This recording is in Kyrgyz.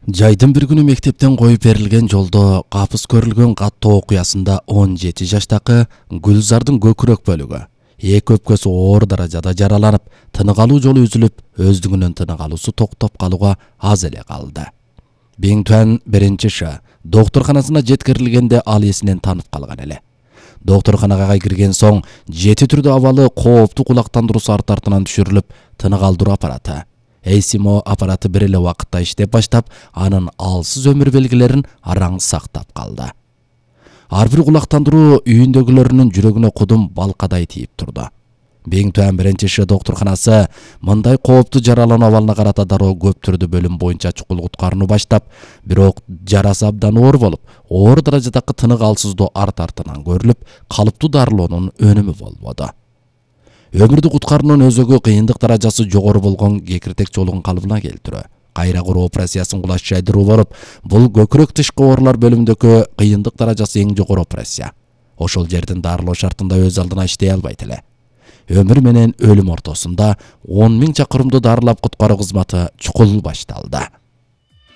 Жайдын бир күнү мектептен коюп берилген жолдо капыс көрүлгөн каттуу окуясында 17 жаштагы Гүлзардын көкүрөк бөлүгү, эки өпкөсү оор даражада жараланып, тынык алуу жолу үзүлүп, өздүгүнөн тынык алуусу токтоп калууга аз эле калды. Биң Туан 1-Ш доктурканасына жеткирилгенде ал эсинен танып калган эле. Доктурканага кирген соң жети түрдүү абалы кооптуу кулактандыруусу артынан түшүрүлүп, тынык алдыруу аппараты ECMO аппараты бир эле убакытта иштеп баштап, анын алсыз өмүр белгилерин араң сактап калды. Ар бир кулактандыруу үйүндөгүлөрүнүн жүрөгүнө кудум балкадай тийип турду. Биң Туан 1-Ш доктурканасы мындай кооптуу жаралануу абалына карата дароо көп түрдүү бөлүм боюнча чукул куткарууну баштап, бирок жарасы абдан оор болуп, оор даражадагы тынык алсыздоо артынан көрүлүп, калыптуу дарылоонун өнүмү болбоду. Өмүрдү куткаруунун өзөгү кыйындык даражасы жогору болгон кекиртек жолун калыбына келтирүү, кайра куруу операциясын кулаш жайдыруу болуп, бул көкүрөк тышкы оорулар бөлүмүндөгү кыйындык даражасы эң жогору операция. Ошол жердин дарылоо шартында өз алдына иштей албайт эле. Өмүр менен өлүм ортосунда 10 000 чакырымды дарылап куткаруу кызматы чукул башталды.